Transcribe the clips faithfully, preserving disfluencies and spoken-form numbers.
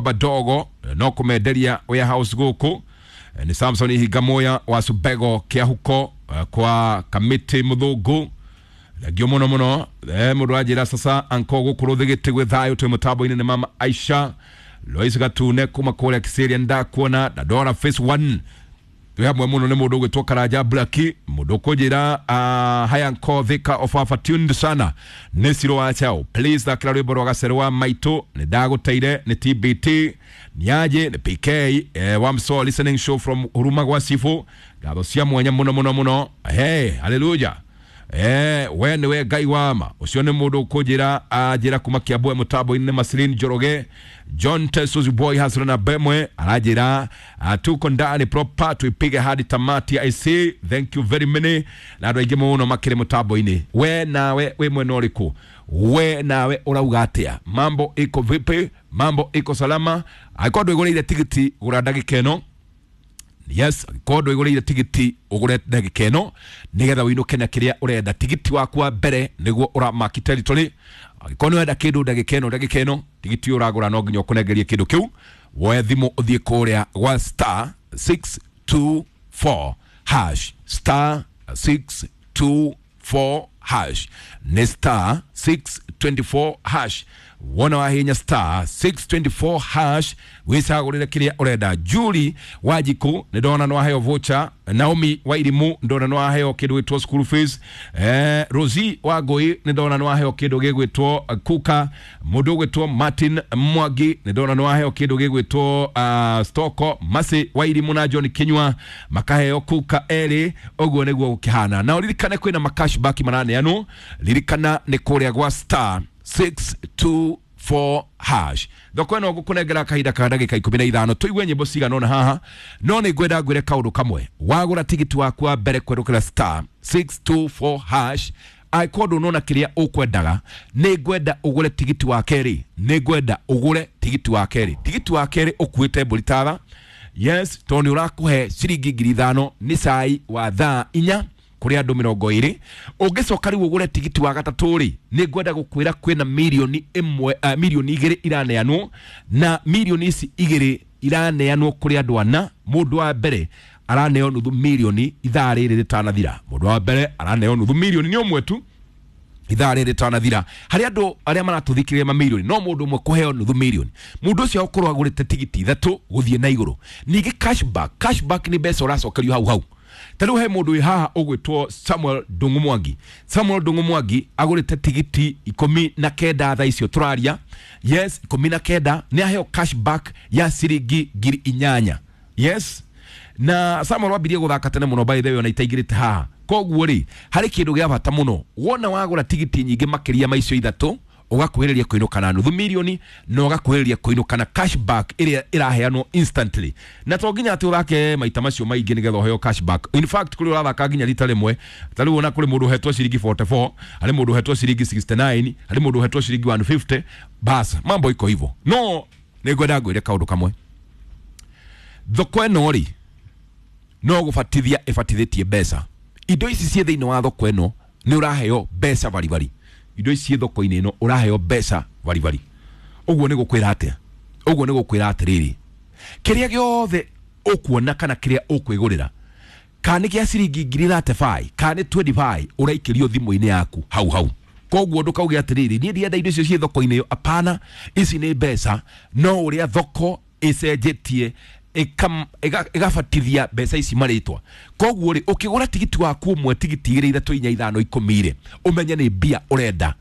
Badogo no kũmenderia warehouse gũkũ. Nĩ Samson Ihingamoya wa Subego Kĩahuko kwa Kamiti Mũthũngũ, thengio mũno mũno. eh, mũndũ anjĩra sasa anko gũkũ rũthĩgĩte gwĩ thayũ, twĩ mũtambo-inĩ nĩ mama Aisha Lois Gatune kuma kũrĩa Kiserian, ndakuona Dandora phase one, twĩ hamwe mũno. Nĩ mũndũ ũgwĩtwo Karanja Blaki, mũndũ ũkũnjĩra uh, haya nko thika ofafa tuned sana nĩ Ciro wa Chao, please thakĩra rwĩmbo rwa Gacerũ wa Maitũ, nĩ ndagũteire nĩ T B T niaje nĩ P K eh, wamso listening show from Huruma gwa Sifu, ngatho cia mwanya mũno mũno mũno. Hey, haleluya. Eh, we nĩwe Ngai wa ma. Ũcio nĩ mũndũ ũkũnjĩra anjĩra kuma Kiambu mũtambo-inĩ nĩ Masilin Njoroge John Tesos boy hasra na Bemwe aranjĩra uh, tuko ndani proper tuipige hadi tamati. I see, thank you very many, na andũ aingĩ mũno makĩrĩ mũtambo-inĩ. We nawe wĩ mwena ũrĩkũ? We nawe ũrauga atĩa? Mambo iko vipi? Mambo iko salama? Angĩkorwo ndwĩgũrĩire tigiti, gũra ndagĩka ĩno. Yes, angĩkorwo ndwĩgũrĩire tigiti, ũgũre ndagĩka ĩno nĩgetha ũinũke na kĩrĩa ũrenda. Tigiti waku wa mbere nĩguo ũramaki territory. Angĩkorwo nĩ ũrenda kĩndũ ndagĩka ĩno, ndagĩka ĩno tigiti ũyũ ũragũra no nginya ũkũnengerie kĩndũ kĩu. Woe thimũ ũthiĩ kũrĩa gwa star six two four hash, star six two four hash, nĩ star six two four hash. Wona wahinya star six two four hash, wicagũrĩre kĩrĩa ũrenda. Julie Wanjiku nĩ ndona nĩ waheo voucher. Naomi Wairimu ndona nĩ waheo kĩndũ gĩtwo school fees. eh, Rosie Wangũi nĩ ndona nĩ waheo kĩndũ gĩgwĩtwo kuka. Mũndũ ũgwĩtwo Martin Mwangi nĩ ndona nĩ waheo kĩndũ gĩgwĩtwo uh, stoko. Masi Wairimu na John Kinyua makaheo kuka erĩ. Ũguo nĩguo gũkĩhana. Na ũririkane kwĩna macashback maraneanwo. Ririkana nĩ kũrĩa gwa star six two four hash. Thoko ĩno ngũkũnengera kahinda ka ndagĩka ikũmi na ithano, tũigue nyĩmbo cigana ũna haha, no nĩ ngwenda ngwĩre kaũndũ kamwe. Wagũra tigiti waku wa mbere kwerũkĩra star six two four hash, angĩkorwo ndũnona kĩrĩa ũkwendaga, nĩ ngwenda ũgũre tigiti wa kerĩ. Nĩ ngwenda ũgũre tigiti wa kerĩ. Tigiti wa kerĩ ũkuĩte mbũri tara, yes, tondũ nĩ ũrakũhe ciringi ngiri ithano nĩ cai wa thaa inya kũrĩ andũ mĩrongo ĩrĩ. Ũngĩcoka rĩu ũgũre tigiti wa gatatũ rĩ, nĩ ngwenda gũkwĩra kwĩna mirioni ĩmwe, uh, mirioni igĩrĩ iraneanwo, na mirioni ici igĩrĩ iraneanwo kũrĩ andũ ana. Mũndũ wa mbere araneo nuthu mirioni ithaa rĩrĩ rĩtanathira. Mũndũ wa mbere araneo nuthu mirioni nĩ ũmwe tu ithaa rĩrĩ rĩtanathira. Harĩ andũ arĩa maratũthikĩrĩria mamirioni, no mũndũ ũmwe kũheo nuthu mirioni, mũndũ ũcio agũkorwo agũrĩte tigiti ithatũ gũthiĩ na igũrũ. Ningĩ cashback, cashback nĩ mbeca ũracokerio hau hau. Ta rĩu he mũndũ wĩ haha ũgwĩtwo Samuel Ndung'u Mwangi. Samuel Ndung'u Mwangi agũrĩte tigiti ikũmi na kenda thaa icio tũraria. Yes, ikũmi na kenda, nĩ aheo cashback ya ciringi ngiri inyanya. Yes, na Samuel wambirie gũthaka tene mũno, by the way, ona itaingĩrĩte haha. Koguo rĩ, harĩ kĩndũ gĩa bata mũno: wona wagũra tigiti nyingĩ makĩria ma icio ithatũ, ũgakuhĩrĩria kũinũka na nuthu mirioni na ũgakuhĩrĩria kũinũka na cashback ĩrĩa ĩraheanwo instantly. Na to nginya atĩ ũthake maita macio maingĩ nĩgetha ũheo cashback. In fact, kũrĩ ũrathaka nginya rita rĩmwe. Ta rĩu ona kũrĩ mũndũ ũhetwo ciringi mĩrongo ĩna na inya, harĩ mũndũ ũhetwo ciringi mĩrongo ĩnana na kenda, harĩ mũndũ ũhetwo ciringi igana rĩa mĩrongo ĩtano. Bas, mambo iko hivyo. No nĩ ngwenda ngwĩre kaũndũ kamwe: thoko ĩno rĩ, no gũbatithia ĩbatithĩtie mbeca. Indo ici ciĩ thĩinĩ wa thoko ĩno nĩ ũraheo mbeca baribari. Indo ici ciĩ thoko-inĩ ĩno ũraheo mbeca baribari. Ũguo nĩ gũkwĩra atĩa? Ũguo nĩ gũkwĩra atĩrĩrĩ, kĩrĩa gĩothe ũkuona kana kĩrĩa ũkwĩgũrĩra, kana nĩ gĩa ciringi ngiri mĩrongo ĩtatũ na ithano kana nĩ mĩrongo ĩrĩ na ithano, ũraikĩrio thimũ-inĩ yaku hau hau. Koguo ndũkauge atĩrĩrĩ, niĩ ndienda indo icio ciĩ thoko-inĩ ĩyo. Apana, ici nĩ mbeca, no ũrĩa thoko ĩcenjetie ĩkam- ĩga- ĩgabatithia mbeca ici marĩtwa. Koguo rĩ, ũkĩgũra tigiti waku ũmwe, tigiti igĩrĩ, ithatũ, inya, ithano, ikũmi rĩ, ũmenye nĩ mbia ũrenda.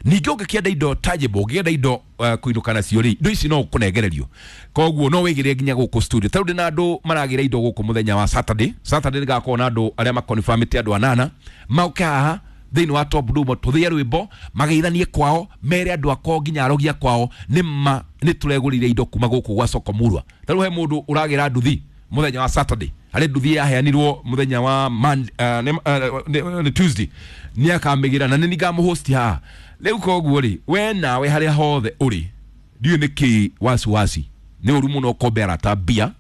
Ningĩ ũngĩkĩenda indo tangible, ũngĩenda indo uh, kũinũka nacio rĩ, indo ici no ũkũnengererio. Koguo no wĩgĩre nginya gũkũ studio. Ta rĩu ndĩna andũ maragĩra indo gũkũ mũthenya wa Saturday. Saturday nĩgakorwo na andũ arĩa makonfirmĩte, andũ anana mauke haha thĩinĩ wa Top Dumo, tũthĩe rwĩmbo, mageithanie kwao, mere andũ akwao nginya arogia kwao nĩ ma nĩ tũregũrire indo kuma gũkũ gwa Soko Murwa. Ta rĩu he mũndũ ũragĩra nduthi mũthenya wa Saturday. Harĩ nduthi yaheanirwo mũthenya wa Monday, uh, nĩ, uh, nĩ, nĩ Tuesday, nĩ akamĩgĩra na nĩ ngamũhosti haha rĩu. Koguo rĩ, we nawe harĩa hothe ũrĩ, ndiũĩ nĩ kĩ wasiwasi. Nĩ ũru mũno ũkombe arata mbia,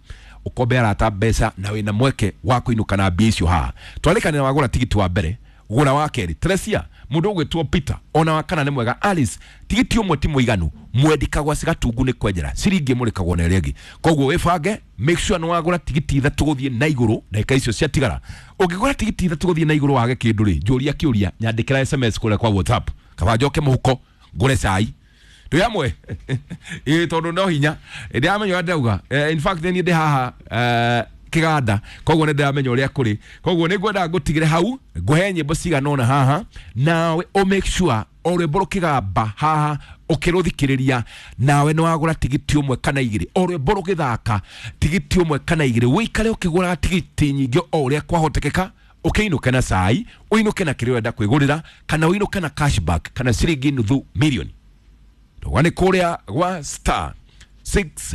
ũkombe arata mbeca, na wĩna mweke wa kũinũka na mbia icio haha. Twarĩkanĩra, wagũra tigiti wa mbere. Gũra wa kerĩ. Teresia, mũndũ ũgwĩtwo Peter, ona wa kana nĩ mwega. Alice, tigiti ũmwe ti mũiganu, mwendi kagwa cigatungu nĩ kwenjera ciringi ĩmwe rĩkagwo na ĩrĩa ĩngĩ. Koguo wĩbange, make sure nĩ wagũra tigiti ithatũ gũthiĩ na igũrũ ndagĩka icio ciatigara. Ũngĩgũra tigiti ithatũ gũthiĩ na igũrũ wage kĩndũ rĩ, njũria kĩũria, nyandĩkĩra S M S kũrĩa kwa WhatsApp, kaba njoke mũhuko ngũre cai. Twĩ hamwe? Ĩĩ, tondũ no hinya ndĩramenya ũrĩa ndĩrauga. In fact niĩ ndĩ haha kĩganda, koguo nĩ ndĩramenya ũrĩa kũrĩ. Koguo nĩ ngwenda ngũtigĩre hau, ngũhe nyĩmbo cigana ũna haha, nawe ũ make sure o rwĩmbo rũkĩgamba haha ũkĩrũthikĩrĩria, nawe nĩ wagũra tigiti ũmwe kana igĩrĩ. O rwĩmbo rũgĩthaka tigiti ũmwe kana igĩrĩ, ũikare ũkĩgũraga tigiti nyingĩ o ũrĩa kwahotekeka, ũkĩinũke na cai, ũinũke na kĩrĩa ũrenda kwĩgũrĩra, kana ũinũke na cashback kana ciringi nuthu mirioni. Ndauga nĩ kũrĩa gwa star six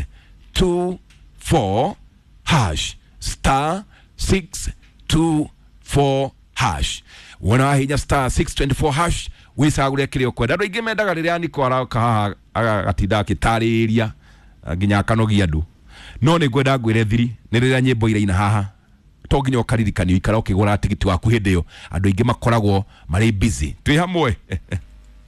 two four hash, star six two four hash. Wona wahinya star six twenty four hash, wĩcagũre kĩrĩa ũkwenda. Andũ aingĩ mendaga rĩrĩa Niko aroka haha agatinda akĩtarĩria nginya akanogia andũ, no nĩ ngwenda ngwĩre thiri nĩ rĩrĩa nyĩmbo iraina haha, to nginya ũkaririkanio ikara ũkĩgũra tigiti waku hĩndĩ ĩyo. Andũ aingĩ makoragwo marĩ busy. Twĩ hamwe.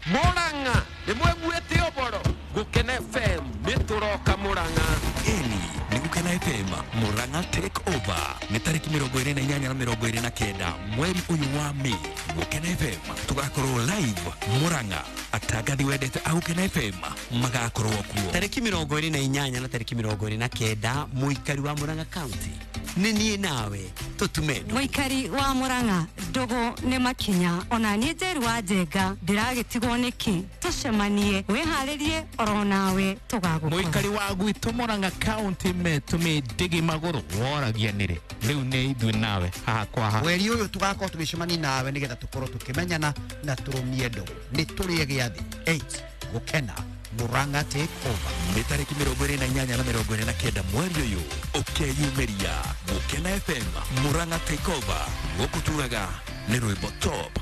Murang'a nĩ mweguĩte ũboro Gukena F M nĩ tũroka Murang'a. Ĩni nĩ Gukena F M Murang'a take over nĩ tarĩki mĩrongo ĩrĩ na inyanya na mĩrongo ĩrĩ na kenda mweri ũyũ wa Mĩĩ. Gukena F M tũgakorwo live Murang'a. Atangathi wendete a Gukena F M magakorwo kuo tarĩki mĩrongo ĩrĩ na inyanya na tarĩki mĩrongo ĩrĩ na kenda. Mũikari wa Murang'a County nĩ niĩ nawe tũtume ndũgũ. Mũikari wa Murang'a ndũgũ nĩ makinya, ona niĩ Njeru wa Njenga ndĩragĩtigwo nĩkĩ? Tũcemanie, wĩharĩrie oro nawe tũgagũkora. Mũikari wa gwitũ Murang'a County metũmĩ ndigi magũrũ woragia nĩrĩ rĩu nĩ ithuĩ nawe haha kwa haha. Mweri ũyũ tũgakorwo tũgĩcemania nawe nĩgetha tũkorwo tũkĩmenyana na tũrũmie ndũgũ. Nĩ tũrĩe gĩathĩ eight Gukena Murang'a take over nĩ tarĩki mĩrongo ĩrĩ na inyanya na mĩrongo ĩrĩ na kenda mweri ũyũ. Ũkeyumĩria Gukena F M Murang'a take over. Gũkũ tugaga nĩ rwĩmbo top.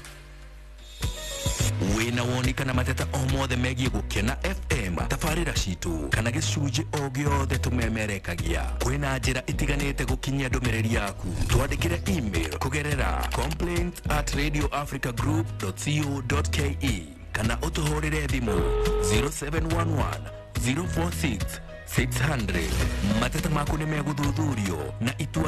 Wĩna woni kana mateta o mothe megiĩ Gukena F M, tabarĩra citũ kana gĩcunjĩ o gĩothe tũmemerekagia, kwĩna njĩra itiganĩte gũkinyia ndũmĩrĩri yaku. Twandĩkĩre email kũgerera complaints at radio africa group dot co dot ke kana ũtũhũrĩre thimũ zero seven one one zero four six six hundred. Mateta maku nĩ megũthuthurio na itua